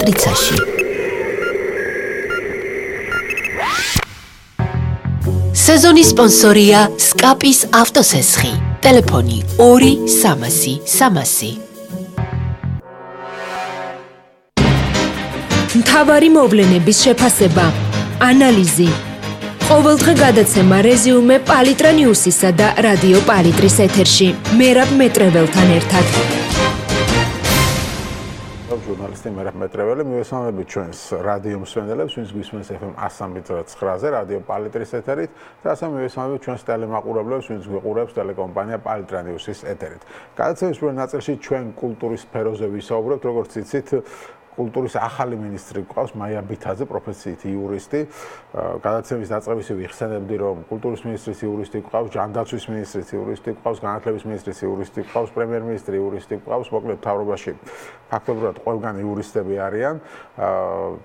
მატრიცაში. სეზონის სპონსორია სკაპის ავტოსესხი. ტელეფონი 2 300 300. მთავარი მოვლენების შეფასება, ანალიზი. ყოველდღე გადაცემა რეზიუმე პალიტრა ნიუსისა და რადიო პალიტრის ეთერში. მერაბ მეტრეველთან ერთად. ჟურნალისტი მერაბ მეტრეველი, მივესალმებით ჩვენს რადიო მსმენელებს, ვინც გვისმენს FM 103.9-ზე რადიო პალიტრის ეთერით, და ასევე მივესალმებით ჩვენს ტელემაყურებლებს, ვინც გვიყურებს ტელეკომპანია პალიტრა ნიუსის ეთერით. გადაცემის პირველ ნაწილში ჩვენ კულტურის სფეროზე ვისაუბრებთ, როგორც იცით, კულტურის ახალი მინისტრი გვყავს მაია ბითაძე, პროფესიით იურისტი. გადაცემის დაწყებისივე ვიხსენებდი, რომ კულტურის მინისტრის იურისტი გვყავს, ჯანდაცვის მინისტრის იურისტი გვყავს, განათლების მინისტრის იურისტი გვყავს, პრემიერ-მინისტრი იურისტი გვყავს, მოკლედ მთავრობაში ფაქტობრივად ყველგან იურისტები არიან.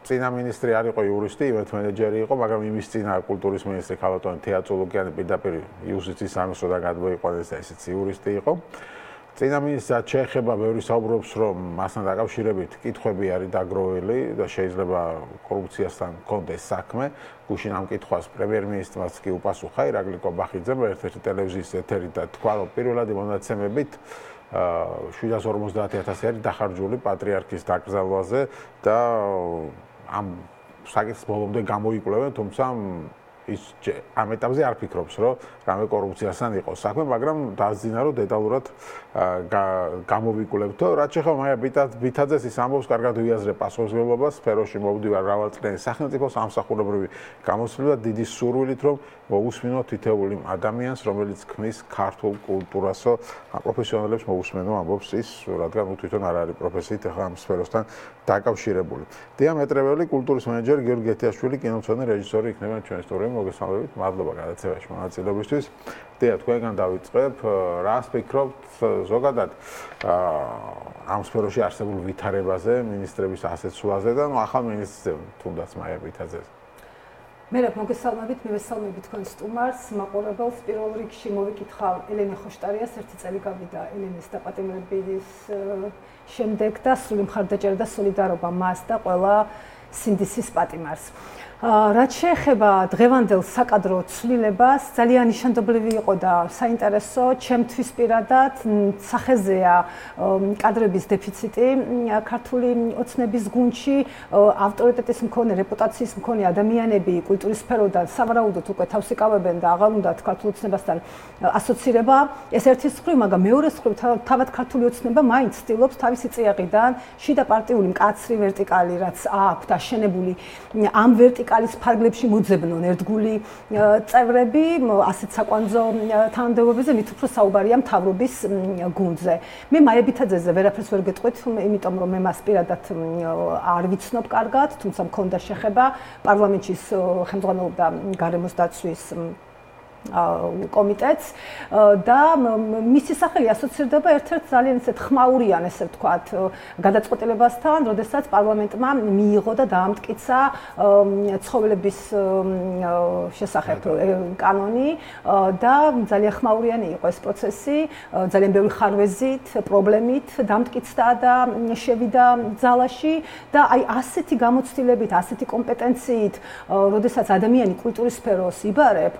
წინა მინისტრი არ იყო იურისტი, ივენთ მენეჯერი იყო, მაგრამ იმის წინა კულტურის მინისტრი ქალბატონი თეატროლოგიანი პირდაპირ იუსტიციის სამსროდან გადმოიყვანეს და ესეც იურისტი იყო. წინა მინისტრად შეეხება ბევრი საუბრობს, რომ მასთან დაკავშირებით კითხვები არის დაგროვილი და შეიძლება კორუფციასთან კონდეს საქმე. გუშინ ამ კითხვას პრემიერ-მინისტრმაც კი უპასუხა ირაკლი კობახიძემ ერთ-ერთი ტელევიზიის ეთერით და თქვა, რომ პირველადი მონაცემებით 750,000 არის დახარჯული პატრიარქის დაკრძალვაზე და ამ საკითხს ბოლომდე გამოიკვლევენ, თუმცა ის ამ ეტაპზე არ ფიქრობს, რომ რამე კორუფციასთან იყოს საქმე, მაგრამ დაძინა, რომ დეტალურად გამოვიკვლევთო. რაც შეეხება მაია ბითაძეს, ის ამბობს, კარგად ვიაზრებ პასუხისმგებლობას, სფეროში მოვდივარ მრავალწლიანი სახელმწიფო სამსახურებრივი გამოცდილება დიდი სურვილით, რომ მოусმინო თითოეული ადამიანს, რომელიც ქმნის ქართულ კულტურასო, პროფესიონალებს მოусმენო, ამბობს ის, რადგან თვითონ არ არის პროფესიით ახლა ამ სფეროსთან დაკავშირებული. დია მეტრეველი, კულტურის მენეჯერი გიორგი ეთიაშვილი, კინომცოდნე რეჟისორი იქნება ჩვენი სტუდიაში. მოგესალმებით, მადლობა გადაცემაში მონაწილეობისთვის. დია, თქვენგან დავიწყებ, რას ფიქრობთ ზოგადად ამ სფეროში არსებულ ვითარებაზე, მინისტრების ასეცვლაზე და ახალ მინისტრზე, თუნდაც მაია ბითაძეს. მერაბ, მოგესალმებით, მივესალმებით თქვენ სტუმარს, მაყურებელს. პირველ რიგში მოვიკითხავ ელენე ხოშტარიას, ერთი წელი გავიდა ელენეს დაპატიმრების შემდეგ და სრული მხარდაჭერა და სოლიდარობა მას და ყველა სინდისის პატიმარს. რაც შეეხება დღევანდელ საკადრო ცვლილებას, ძალიან ნიშანდობლივი იყო და საინტერესო, ჩემთვის პირადად სახეზეა კადრების დეფიციტი ქართული ოცნების გუნდში, ავტორიტეტის მქონე, რეპუტაციის მქონე ადამიანები კულტურის სფეროდან სავარაუდოდ უკვე თავს იკავებენ და აღარ უნდათ ქართულ ოცნებასთან ასოცირება. ეს ერთი მხრივ, მაგრამ მეორე მხრივ, თავად ქართული ოცნება მაინც ცდილობს თავისი წიაღიდან შიდა პარტიული მკაცრი ვერტიკალი, რაც აქვთ აშენებული ამ ვერტიკალის ფარგლებში მოძებნონ ერთგული წევრები, ასეთ საკვანძო თანამდებობებზე, მით უფრო საუბარია მთავრობის გუნდზე. მე მაია ბითაძეზე ვერაფერს ვერ გეტყვით, იმიტომ რომ მე მას პირადად არ ვიცნობ კარგად, თუმცა მქონდა შეხება პარლამენტში ხელმძღვანელობდა გარემოს დაცვის კომიტეტს და მისი სახელი ასოცირდება ერთ-ერთ ძალიან ისეთ ხმაურიან, ესე ვთქვათ, გადაწყვეტილებასთან, როდესაც პარლამენტმა მიიღო და დაამტკიცა ცხოველების შესახებ კანონი და ძალიან ხმაურიანი იყო ეს პროცესი, ძალიან ბევრი ხარვეზით, პრობლემით დამტკიცდა და შევიდა ძალაში და აი ასეთი გამოცდილებით, ასეთი კომპეტენციით, როდესაც ადამიანი კულტურის სფეროს იბარებ,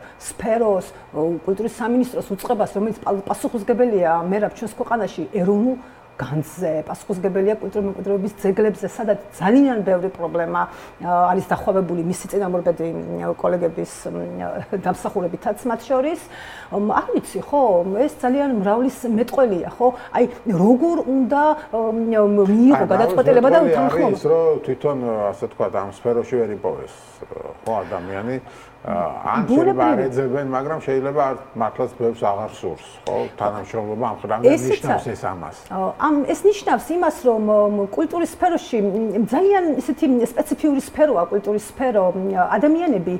კულტურის სამინისტროს უწყებას, რომელიც პასუხისმგებელია მერაბ ჩვენს ქვეყანაში ეროვნულ განძზე, პასუხისმგებელია კულტურული მემკვიდრეობის ძეგლებზე, სადაც ძალიან ბევრი პრობლემა არის დახვევებული მისი წინამორბედი კოლეგების დამსახურებითაც მათ შორის. არ ვიცი, ხო, ეს ძალიან მრავლის მეტყველია, ხო? აი, როგორ უნდა მიიღო გადაწყვეტილება და უთანხმობა? ის რომ თვითონ ასე ვთქვათ, ამ სფეროში ვერ იპოვეს, ხო, ადამიანი ან შეიძლება არ ეძებენ, მაგრამ შეიძლება მართლაც ბევრს აღარ სურს, ხო? თანამშრომლობა ამ ხრამიდან ნიშნავს ეს ამას. ეს ნიშნავს იმას, რომ კულტურის სფეროში ძალიან ისეთი სპეციფიური სფეროა კულტურის სფერო. ადამიანები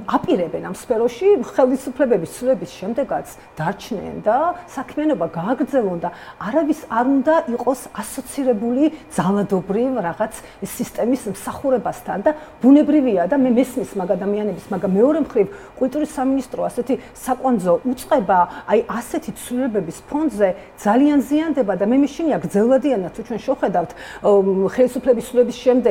აპირებენ ამ სფეროში ხელისუფლებების ცვლილების შემდეგაც დარჩნენ და საქმიანობა გააგრძელონ და არავის არ უნდა იყოს ასოცირებული ძალადობრივ რაღაც სისტემის მსახურებასთან და ბუნებრივია და მე მესმის მაგ ადამიანების, მაგრამ მეორე მხრივ კულტურის სამინისტრო ასეთი საკვანძო უწყება, აი ასეთი ცვლილებების ფონზე ძალიან ზიანდება და მე მეშინია გრძელვადიანად თუ ჩვენ შევხედავთ ხელისუფლების ცვლილების შემდეგ